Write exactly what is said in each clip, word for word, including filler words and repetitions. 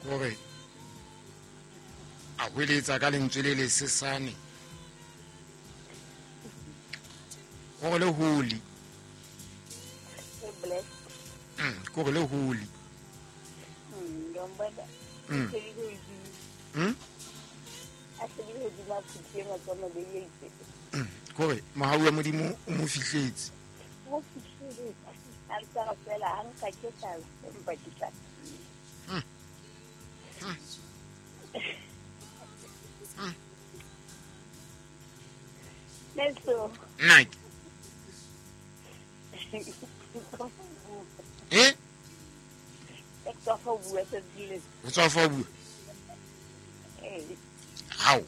Kore a hweletsa ka lentswe le lesesane. Kore le holi. Mm, kore le holi. Mm, ngombana. Mm. Mm? Mm, kore mohau wa Modimo o mo fihletse. Mo fihletse. A ntse fela ha nka ke tla empa ke tla. Mm. Mm. Mm. Neso. Nike. Eh? Ke tswa fa bua tsile. O tswa fa bua? Eh. How?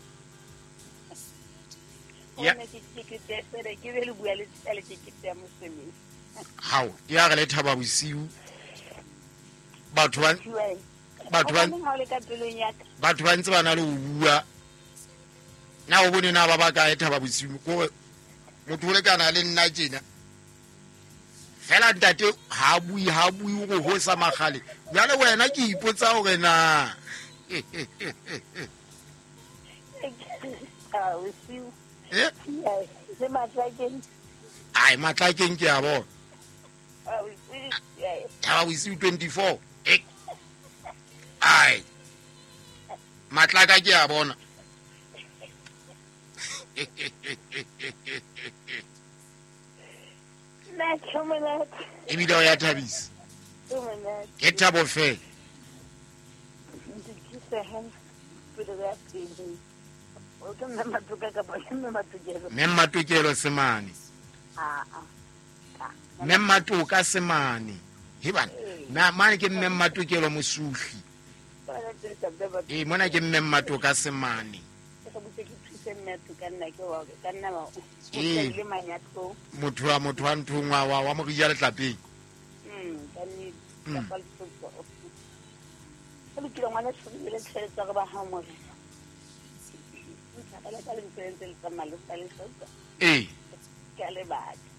Ya. Ke ke ke ke be le bua le tsale ke ke ya mosebetsi. How? Ya re le thaba bosiu. Batho ba batho ba batho ba ntse ba na le ho bua. Na o bone na ba ba kae thaba bosiu ko motho o lekana le nna tjena. Fela ntate ha bui ha bui go ho sa magale. Jwale wena ke ipotsa hore na. Ah, bosiu. Eh? Le matlakeng. Ai matlakeng ke a bona. Ah, bosiu. Thaba bosiu twenty-four. Eh. Ai. Matlaka ke a bona. Na ke monate. Ebile o ya thabisa. Ke monate. Ke thabo fela. Ke se pele ya pele. O ke mme Matoka kapa ke mme Matokelo? Mme Matokelo semane. Ah ah. Mme Matoka semane. He bana. Na mane ke mme Matokelo mosuhli. Eh mona ke mme Matoka semane. Ke botse ke thuse mme Matoka nna ke wa ka nna ba. Eh. Le manyatlo. Motho wa motho wa nthongwa wa wa morija letlapeng. Mm, ka nne ka fa letsotso. Ke lokile ngwana tshobile tshwetsa re ba ha mo. Ka le ntse le tsamaya le sa le sotsa. Eh. Ke le batla.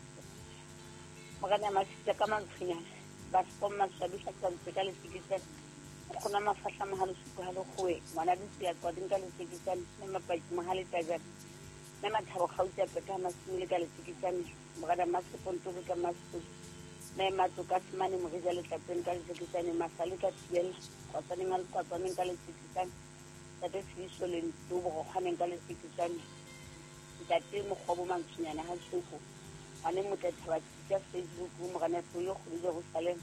Morena Masitsa ka mantshinyana ba skomma swabisa ka ntse ka letsikitsa. Khona mafahla mahalo suku ha le khoe ngwana ditsi ya kwa dinka letsikitsa le mapaki mahale tajana. Le mathabo gauta peta masimile ka letsikitsa morena Maseponto ka Maseponto. Me Matoka semane morija letlapeng ka letsikitsa masale ka tiela kwa tsaneng a kwa tsaneng ka letsikitsa. Ntate Tshiso le ntlo bo kgwaneng ka letsikitsane. Ntate Mokgobo Mantshinyana ha Tshoko. Ngwane motle thaba tsa Facebook morena Tsoyo go Jerusalem.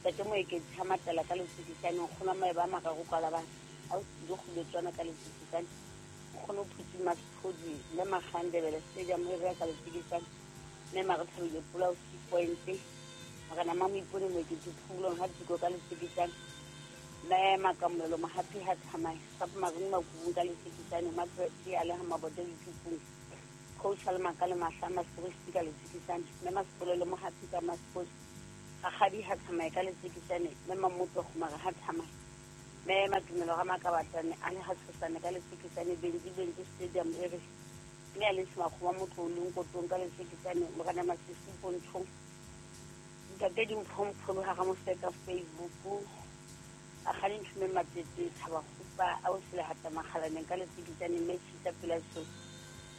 Ntate Moeketsi ha matela ka letsikitsane nkgona maeba mararo kwa la bana. Ha o tsile go letswana ka letsikitsane. Nkgono Phuti Masphodi le Magandebele stadium e re ka letsikitsane. Mme Marethabile Pula o six point. Morena Mamoipone Moeketsi Phulong ha Tiko ka letsikitsane. Me makamelo mahapi ha thamai sa marung makubung ka letsikitsane matse a le ha mabote dithupung coach le makale mahla masibisi ka letsikitsane me masipolelo mohapi ka masipolo gagadi ha thamai ka letsikitsane me mamotso go mara ha thamai me matumelo ga makabatane a le ha tshosane ka letsikitsane benji benji stadium e re me a le smakgo wa motho o leng kotong ka letsikitsane morena Masisi pontshong ntate Dimphompholo ha ga moseka Facebook a gane nthume matete thaba gopa a o sele hata magalaneng ka letsikitsane mme tshisa pela so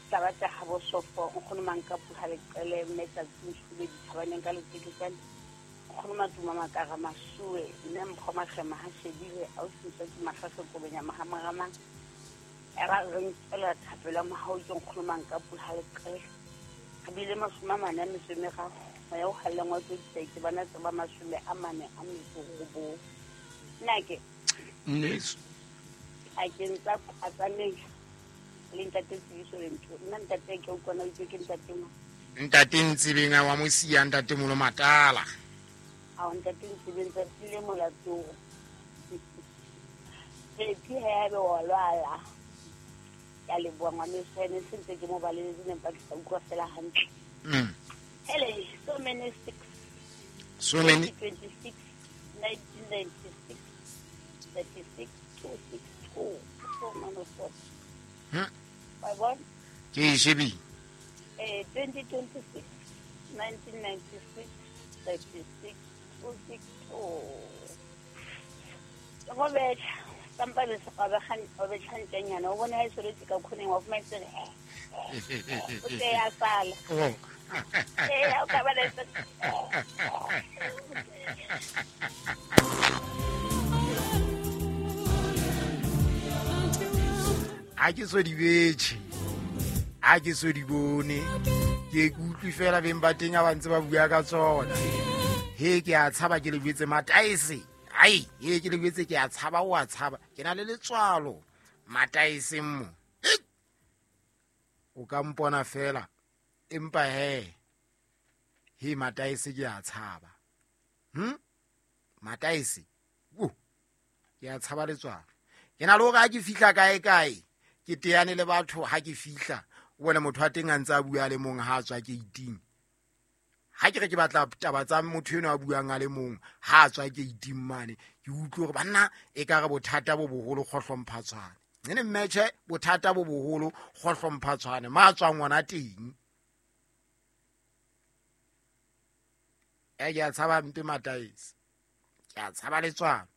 tsa batla ga bosofo nkgono mankapu ha leqele mme tsatsi ntshube dithabaneng ka letsikitsane nkgono matuma makara masuwe mme mpho magema ha shebile a o sentse ke mafaso kobenya mahamarama era re ntela thapelo mahao ke nkgono mankapu ha leqele re bile mashome a mane a metso e meraro moya o haleng wa tse bana tse ba mashome a mane a metso robong. Nake Nneso a ke ntsa atsameng le ntate Tsibiso le ntho nna ntate ke utlwana o itse ke ntate mo ntate Ntsibeng wa mosia ntate Molo Matala a ntate Ntsibeng tsa tsile molato ke ke ha be wa lwala ya le bua ngwane sene sentse ke mo baleletse ne mpa ke sa utlwa fela hantle. Mm. Hele so many six so many twenty-six nineteen ninety-six thirty-six two six two four nine four. Hmm. By one. Ke shebi. Eh twenty twenty-six nineteen ninety-six thirty-six two six two. Go betšha sampa le wa be tšhantšanyana o bone ha e sweretse ka khoneng wa fuma e tsere o te ya sala. Ee, o ka ba le a ke so di betšhe, a ke so di bone, ke utlwe fela beng ba teng a ba ntse ba bua ka tsona. He ke a tshaba ke le jwetse mataese. Ai, he ke le jwetse ke a tshaba o a tshaba. Ke na le letswalo mataeseng mo. O ka mpona fela empa he he mataese ke a tshaba. Hm? Mataese. O ke a tshaba letswalo. Ke na le hore ha ke fihla kae kae ke teane le batho ha ke fihla o bone motho a teng a ntse a bua le mong ha a tswa gate-ing. Ha ke re ke batla taba tsa motho eno a buang a le mong ha a tswa gate-ing mane ke utlwe hore banna e ka re bothata bo boholo kgohlomphatshwane. Nene mmetjhe bothata bo boholo kgohlomphatshwane ma tswang ngwana teng. E ke a tshaba mpe mataese. Ke a tshaba letswalo.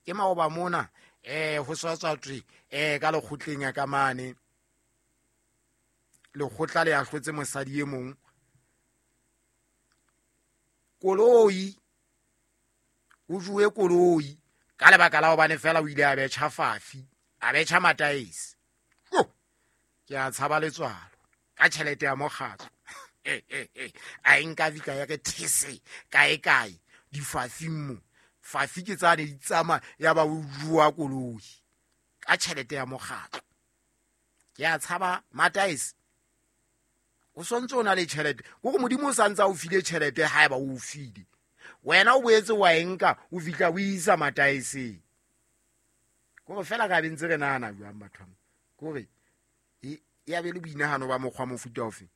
Ke maoba mona eh ho swatswa tswe eh ka lekgotleng ya ka mane lekgotla le ahlotse mosadi e mong koloi o juwe koloi ka lebaka la hobane fela o ile a betjha fafi a betjha mataese. Ke a tshaba letswalo ka tjhelete ya mokgatlo. A nka vika ya re these kae kae difafing mo fafi ke tsane di tsamaya ya ba o jua koloi ka tjhelete ya mokgatlo. Ke a tshaba mataese. O sontse o na le tjhelete kore Modimo o santse a o file tjhelete haeba o file wena o boetse wa enka o fihla o isa mataeseng. Kore fela ka be ntse re nahana jwang batho ba kore e ya be le boinahano ba mokgwa mofuta ofe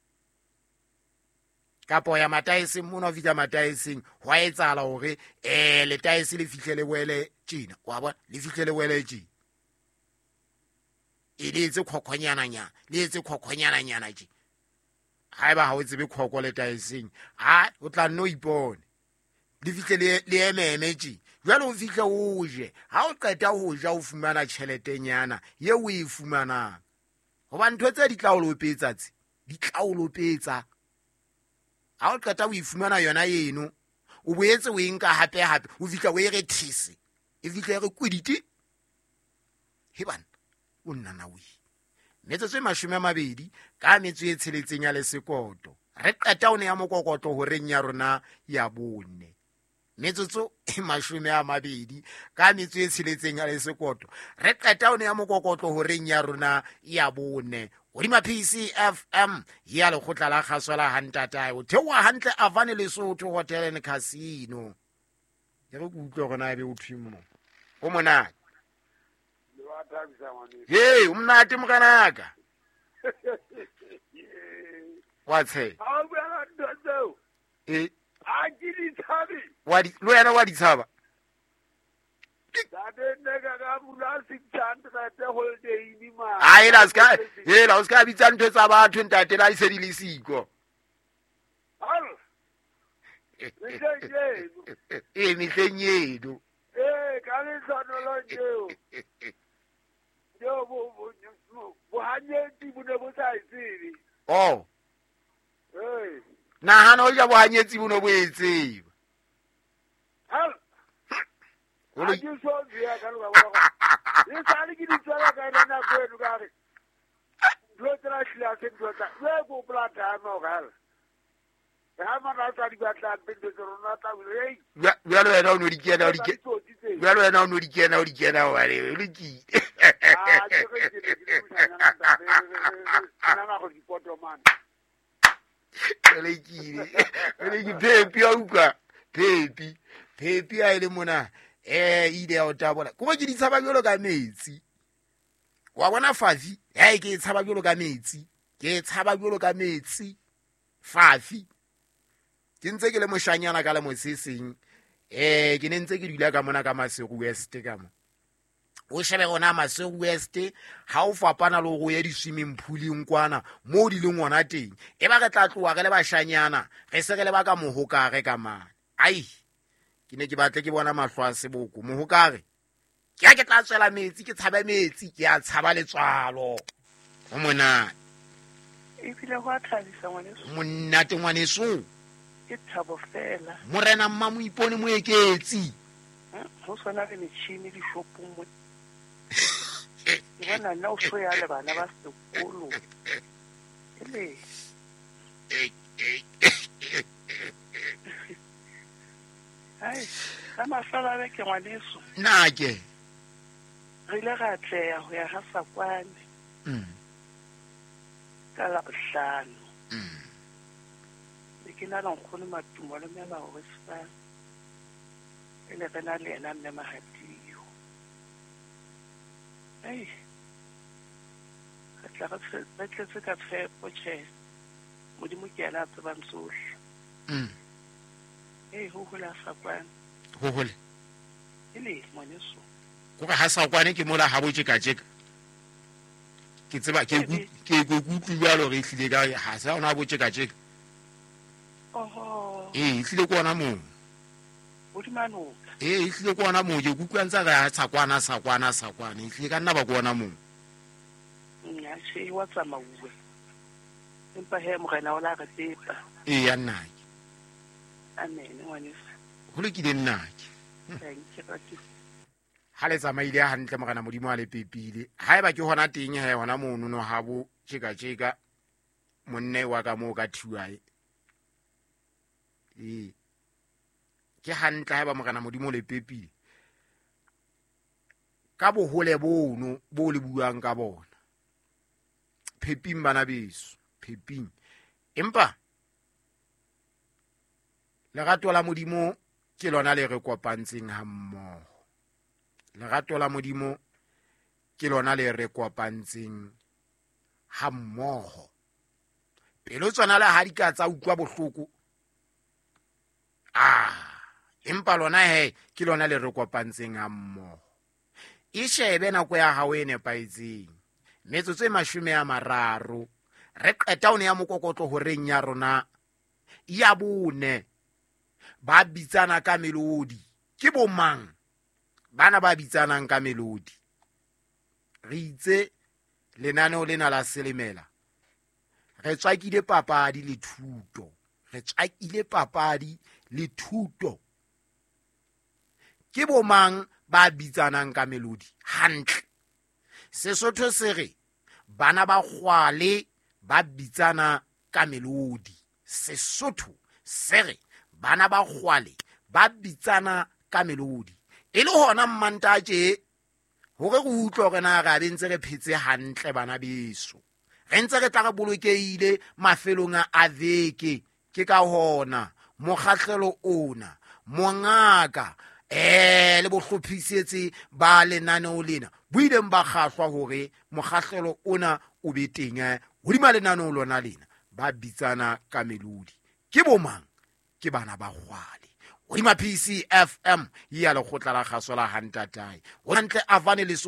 kapo ya mataeseng mona o fihla mataeseng hwa etsahala hore eh letaese le fihle le boele tjena wa bona le fihle le boele tjena e le etse khokhonyananyana le etse khokhonyananyana tje. Haeba ha o tsebe khoko letaeseng ha o tla nno ipone le fihle le le ememe tje. Jwale o fihle o je ha o qeta ho ja o fumana tjheletenyana ye o e fumanang hoba ntho tse di tla o lopetsa tse di tla o lopetsa. Ha o qeta o e fumana yona eno o boetse o e nka hape hape o fihla o e re these e fihle re kwedite he bana o nnana o metsotso e mashome a mabedi ka metso e tsheletseng ya lesekoto re qeta o ne ya mokokotlo horeng ya rona ya bone. Metsotso e mashome a mabedi ka metso e tsheletseng ya lesekoto re qeta o ne ya mokokotlo horeng ya rona ya bone. Hodima P C F M ya lekgotla la kgaso la hantatae o theoha hantle Avane Lesotho Hotel and Casino. Ke re ke utlwe hore na ebe o thwe mo o monate. Hey, o monate mokanaka. Wa tshe. Eh. A ke di tshabe. Wa di le wena wa di tshaba. Ai la ska hela o ska bitsa ntho tsa batho ntate la ise di le siko. Eh mehleng eno. Eh ka le tshwanelo eo. Yo bo bo hanyetsi bo ne bo sa itsebe. Oh. Eh. Nahana o ja bohanyetsi bo no bo e tseba. Ha o ke so bia ka lo ba ba. E sale ke di tswela ka ena nako eno ka re. Dilo tsela hlila se ntho tsa. Le go plata no ga. Ha mana tsa di batla pele tse rona tla ei. Jwale wena o no di kena o di kena. Jwale wena o no di kena o di kena wa le o lokile. Ah ke re ke ke ke nna go di poto man. Lekile le phepi a utlwa phepi phepi a ile mona eh ile ya o tabola ko ke di tshaba jalo ka metsi wa bona fafi ha ke tshaba jalo ka metsi ke tshaba jalo ka metsi fafi ke ntse ke le moshanyana ka le moseseng eh ke ne ntse ke dula ka mona ka Maseru West ka mo o shebe ona Maseru West ha o fapana le go ya di swimming pooleng kwana mo di leng ona teng e ba re tla tloa re le bashanyana re se re le ba ka mohokare ka mane ai ke ne ke batle ke bona mahlo a seboko mohokare Ke ya ke tla tswela metsi ke tshabe metsi ke ya tshaba letswalo. Ho monate. Ebile ho a thabisa ngwaneso. Monate ngwaneso. Ke thabo fela. Morena mma Moipone Moeketsi. Ho sona le metjhini dishopong mo. Ke bona nna o so ya le bana ba sekolo. Ele. Ai, ka mafelo a beke ngwaneso. Nna ke. Re ile ra atleha ho ya ha Sakwane. Mm. Ka Labohlano. Mm. Ne ke na le nkgono Matumo le mme Baosa. E le re na le yena mme Mahadio. Ei. Re tla re tletse ka tshepo tjhe. Modimo ke yena a tsebang tsohle. Mm. Ei, ho hola Sakwane. Ho hole. Ele ngwaneso. Kore ha Sakwane ke mola ha bo tjeka tjeka. Ke tseba ke ke ke utlwe jwalo re hlile ka ha sa ona bo tjeka tjeka. Oho. Eh, hlile ke ona moo. Hodima noka. Eh, hlile ke ona moo ke utlwa ntse re ha Sakwana Sakwana Sakwane. Hlile ka nna ba ke ona moo. Nna tjhe wa tsamauwe. Empa he morena o la re pepa. Eh, ya nna ke. Amen ngwaneso. Ho lokile nna ke. Thank you. Ha le tsamaile hantle morena Modimo a le pepile. Haeba ke hona teng he hona mono no ha bo tjeka tjeka monne wa ka moo ka thiwae. Eh. Ke hantle haeba morena Modimo le pepile. Ka bohole bono bo le buang ka bona. Pheping bana beso, pheping. Empa lerato la Modimo ke lona le re kopantseng ha mmoho. Lerato la Modimo ke lona le re kopantseng ha mmoho. Pelo tsona le ha di ka tsa utlwa bohloko. Ah, empa lona he ke lona le re kopantseng ha mmoho. E shebe nako ya hao e nepahetseng. Metsotso e mashome a mararo. Re qeta o ne ya mokokotlo horeng ya rona ya bone. Ba bitsana ka melodi. Ke bo mang? Bana ba bitsanang ka melodi. Re itse lenaneo lena la Selemela. Re tswakile papadi le thuto. Re tswakile papadi le thuto. Ke bo mang ba bitsanang ka melodi? Hantle. Sesotho se re bana ba kgwale ba bitsana ka melodi. Sesotho se re bana ba kgwale ba bitsana ka melodi. E le hona mmantatje hore re utlwe hore na re be ntse re phetse hantle bana beso. Re ntse re tla re bolokehile mafelong a veke. Ke ka hona mokgahlelo ona mongaka eh le bohlophisetse ba lenaneo lena bo ileng ba kgahlwa hore mokgahlelo ona o be teng hodima lenaneo lona lena. Ba bitsana ka melodi. Ke bo mang? Ke bana ba kgwale. Hodima P C F M ya lekgotla la kgaso la Hantatae. Hantle avane le